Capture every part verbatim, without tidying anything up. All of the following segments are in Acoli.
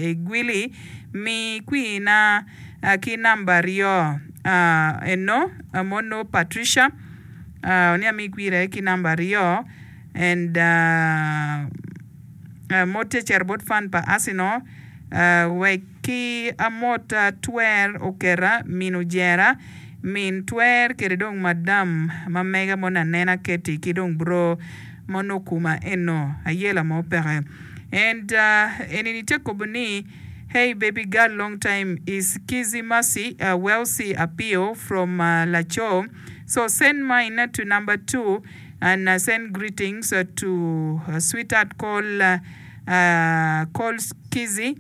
Gwili mi kwina ki namba aryo eno mono Patricia ni ami kwire ki namba aryo and mote cito bot fan pa Arsenal wek ki amot twer oketa min ojera min twer kede dong madam ma mega mono anena keti ki dong bro mono okuma eno ayela mo peke and enini tye kobo ni hey baby girl long time is Kizzy Mercy Welcy Apio from Laco so send mine to number two and send greetings to sweetheart call call Kizzy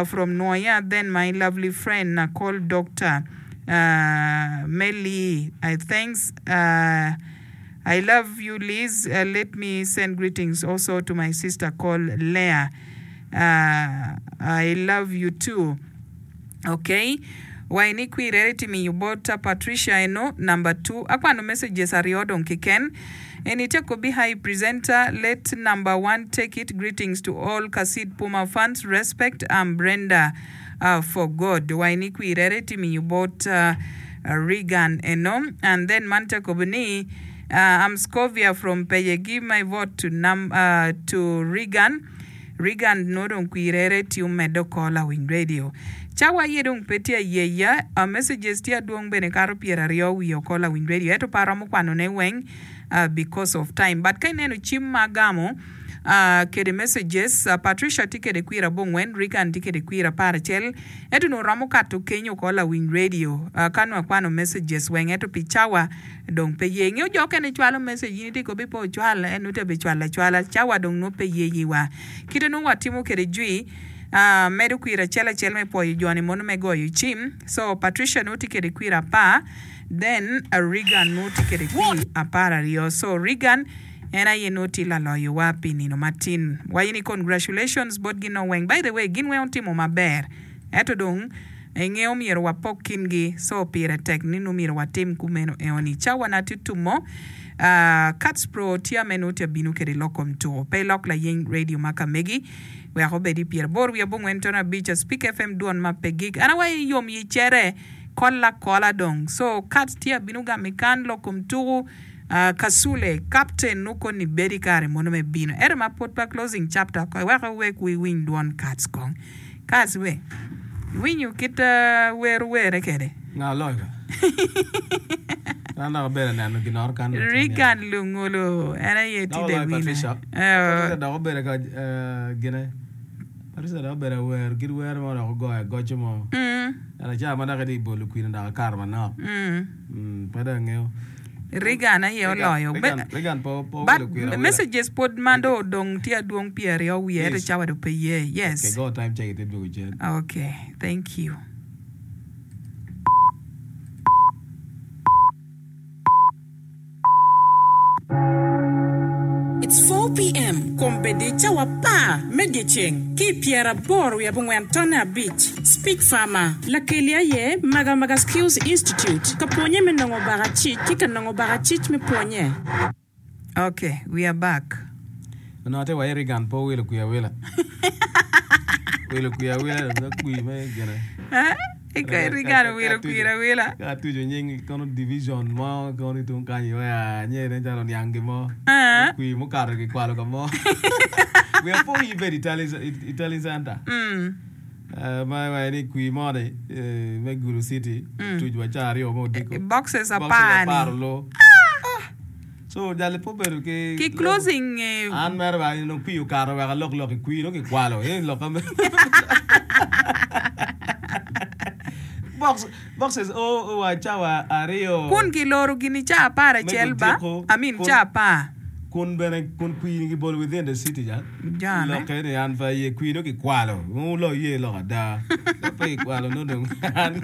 from Nwoya then my lovely friend call Doctor Melly I thanks I love you Liz let me send greetings also to my sister call Leah I love you too ok wa ini kwirere ti miyo bot Patricia eno number two akwano messages aryo dong kiken eni tye kobi hi presenter let number one take it greetings to all Kasid Puma fans respect I'm Brenda uh, for God wa ini kwirere ti miyo bot uh, Regan eno and then man tye kobo ni uh, I'm Scovia from Peye give my vote to, num, uh, to Regan Regan nongo dong kwirere tye omedde oko lawiny radio cawa aye dong pe tye ayeya uh, messages tye adwong bene kato pyeraryo wiye oko lawiny radio ento pe aromo kwanone weng uh, because of time but ka ineno cim ma agamo uh, kede messages uh, Patricia tye kede kwir abongwen Regan tye kede kwir apar acel ento nongo romo kato kenyo oko lawiny radio uh, ka nongo akwano messages weng ento pi cawa dong pe ye ingeo jo okene cwalo message in itye kobi pe ocwal en nongo tye bicwalo acwala cawa dong nongo pe ye yiwa kite nongo watimo kede jwi uh, medo kwir acel acel me pwoyo joni mono me goyo cim so Patricia nongo tye kede kwir apar then uh, Regan nongo tye kede kwir apar aryo so Regan en aye nongo tye laloyowa pi nino matin wayi ni congratulations bot gin weng by the way gin weng otimo maber ento dong ingeo myero wapok kingi so pire tek ni nongo myero watim kumeno eoni cawa na tye tumo uh, Cats Pro tye ame nongo tye bino kede lok kom tuko pe lok layeny radio ma kamegi wek obedi pyeraboro wiye abongwen tono abic Speak FM dwon ma pe gik an awayi yom yi cere kola kola dong so Cats tye abino gamo kan lok kom tuko uh, kasule captain nuko ni bedi kare mono me bino ento ma pod pa closing chapter ko wek wek wi winy dwon Cats kong Cats we winyo kit uh, wer were kede Nga loyo ka. An dok abedo neno ginoro kan. Regan Lungolo en aye tye Dok the oloyo winner Patricia. uh, Patricia dok obedo ka eh, gine. Patricia dok obedo wer kit wer mo dok ogoyo agoco mo. mm, En aca ma dok itye bolo kwino dok akato manok. mm. Mm, pe dong angeyo. Regan aye Regan, oloyo Regan, Be- Regan po po but wilo kwino awila. messages pod ma do odong tye adwong pyeraryo wiye ento Yes. cawa do pe ye Okay, yes go time check ite dwogo cen. okay thank you It's four p m. Kombeddi cawa apar me dyeceng ki pyeraboro wiye abongwen tone abic. Speak Farmer. Lakeli aye Maga Maga Skills Institute. Ka pwonye me nongo bakacic ki ka nongo bakacic me pwonye. Okay, we are back. Onongo ate wayi Regan po wilo kwir awila. Wilo kwir awila dong kwir me gine. Eh? Iko Regan wilo kwir awila. Ka atuco nying kono division mo kono tung kany wea nye ne calo niang gimo. Eh? Kwir mukato kikwalo ka mo. We apo ibedo Itali Itali Center. Mm. Eh, ma wa ni kwir mo ni eh, me Gulu City Mm. tuc wa ca aryo mo odiko. Boxes Boxes apar apar ni. olo. So jali po bedo ki Ki closing eh, An mere ba nongo kwir okato wek alok lok i kwir nongo kikwalo eh lok ame Box boxes o wa cawa aryo kun kiloro gini ca apar me acel ba odiko I mean kun ca apar kun bene kun kwir gibolo within the city ja Jane. lokke ni an pa ye kwir nongo kikwalo ulo ye lok ada pe kikwalo nongo dong an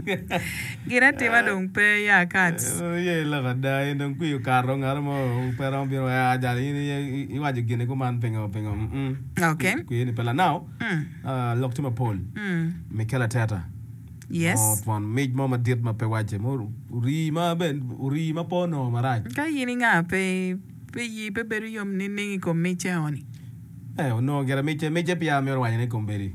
Gin atima dong pe ya Cats. ye lok ada en dong kwir okato ngato mo pe romo bino ah jali in iye- iwaco gini kuman pingo pingo mm Okay. kwir ni pe la now Mm. ah, lok tye mapol Mm. Mikel Arteta Yes. mo twon mic mo madit ma pe wace mo ori ma ben ori ma pe onongo marac Ka in inga pe pe yi pe bedo yom nining i kom mic eoni. Eh, onongo gire mice mice pia myero wanyo ni kombeddi